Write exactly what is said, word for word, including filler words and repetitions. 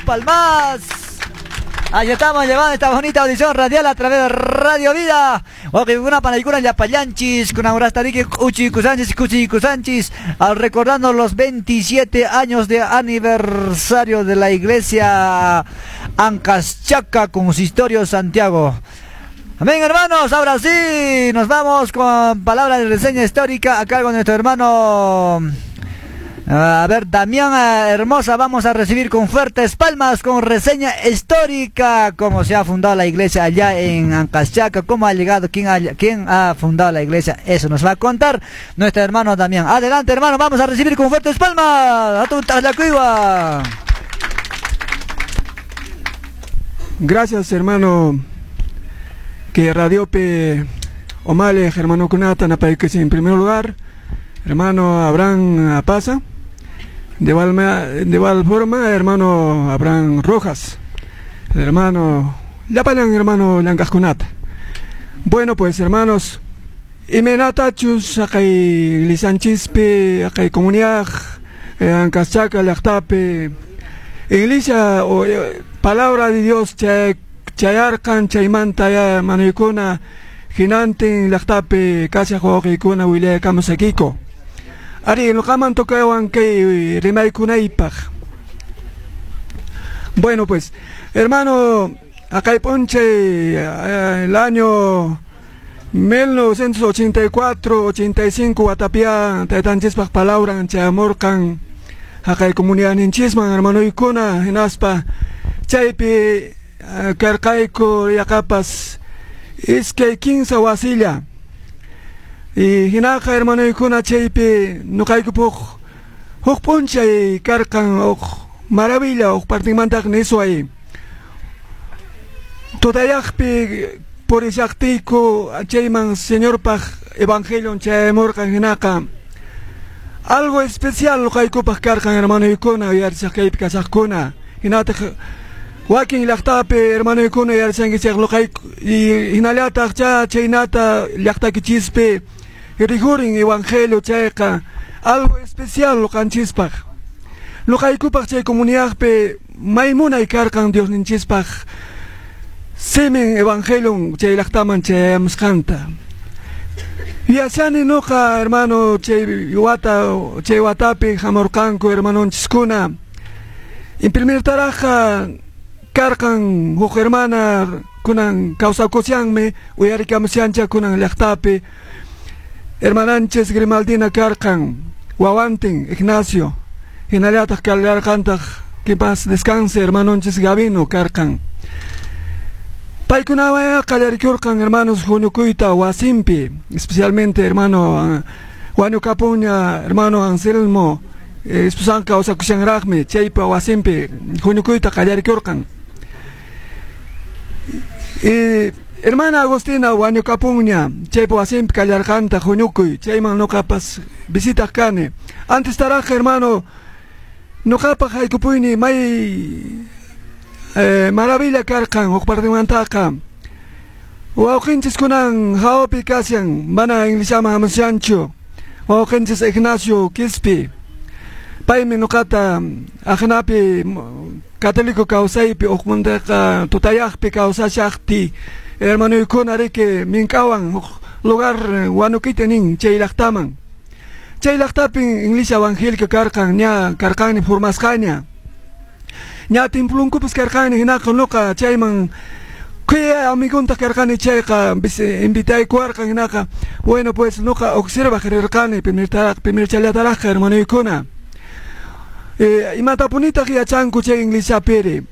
Palmas. Ahí estamos llevando esta bonita audición radial a través de Radio Vida. Una panaykuna llapallanchis, con Aurastariki Uchi Kusanchis, Kuchi Kusanchis, al recordando los veintisiete años de aniversario de la iglesia Ancaschaca, Consistorio Santiago. Amén, hermanos. Ahora sí, nos vamos con palabra de reseña histórica a cargo de nuestro hermano. A ver, Damián Hermosa, vamos a recibir con fuertes palmas, con reseña histórica, cómo se ha fundado la iglesia allá en Ancaschaca, cómo ha llegado, quién ha, quién ha fundado la iglesia, eso nos va a contar nuestro hermano Damián. Adelante, hermano, vamos a recibir con fuertes palmas. A la Gracias, hermano, que Radio P. Omale, hermano Kunata, en primer lugar, hermano Abraham Apaza. De igual, de igual forma, hermano Abraham Rojas, el hermano llapallan hermano llank'aqkunata. Bueno, pues, hermanos, imaynatachus haqay iglesianchispi, haqay comunidad eh, Ancaschaca llaqtapi iglesia o eh, palabra de Dios chay chayarqan, chaymanta ya, hermanoykuna, hinantin llaqtapi kashaq wawqiykuna willaykamusaykiku. Ari, nuqaman tocawan kay rimaykunaypaq. Bueno, pues, hermano, haqay p'unchay, eh, el año mil novecientos ochenta y cuatro, ochenta y cinco watapia taytanchispaq palabran chayamurqan haqay comunidadninchisman, hermanoykuna, hinaspa chaypi eh, karqayku yaqapas iskay kinsa wasilla. Y hinaqa, hermanoykuna, chaypi nuqaykupuq huk p'unchay karqan huk maravilla, huk partinmantaq nisway tutayaqpi purishaqtiyku chayman Señorpaq evangelion chayamurqan. Hinaqa algo especial nuqaykupaq karqan, hermanoykuna, uyarishaq kaypi kashaqkuna, hinataq wakin llaqtapi hermanoykuna uyarishankichik nuqayku y hinallataq cha chaynata llaqtakichispi rikhurin evangelio chayqa algo especial nuqanchispaq, nuqaykupaq chay comunidadpi may munay karqan Diosninchispaq simin evangelion chay llaqtaman chayamusqanta. Yachani nuqa, hermano, chay wata chay watapi hamurqanku hermanonchiskuna. Primertaraqqa karqan huk hermana, kunan kawsakushanmi, uyarikamushancha kunan llaqtapi, hermananchis Grimaldina karqan wawantin Ignacio, hinallataq kallarqantaq, que paz descanse, hermanonchis Gavino karqan. Paykunawan qallarikurqan, hermanos, huñukuyta wasinpi, especialmente hermano wañukapunña hermano Anselmo, esposanqa kawsakushanraqmi, chaypa wasinpi huñukuyta qallarikurqan. Y hermana Agustina wañukapunña, chaypa wasinpi kallarqantaq huñukuy, chayman nuqapas visitaq kani. Antes taraqqa, hermano, nuqapaq haykupuyni may eh, maravilla karqan huk partimantaqa wawqinchis kunan hawapi kashan, mana iglesiaman hamushanchu, wawqinchis Ignacio Quispi. Paymi nuqata aqnapi católico kawsaypi hukmantaqa tutayaqpi kawsashaqti, hermanoykuna riki mink'awan huk lugar Huanuquita nin chay llaqtaman. Chay llaqtapin iglesia evangélica karqan, ña karqani formasqaña, ña templonkupas karqani. Hinaqa nuqa chayman kuya amigontaq karqani, chayqa invitaykuwarqan. Hinaqa, bueno, pues, nuqa observaq rirqani primertaraq primerchallataraqqa, hermanoykuna. eh, imatapunitaq yachanku chay iglesiapiri?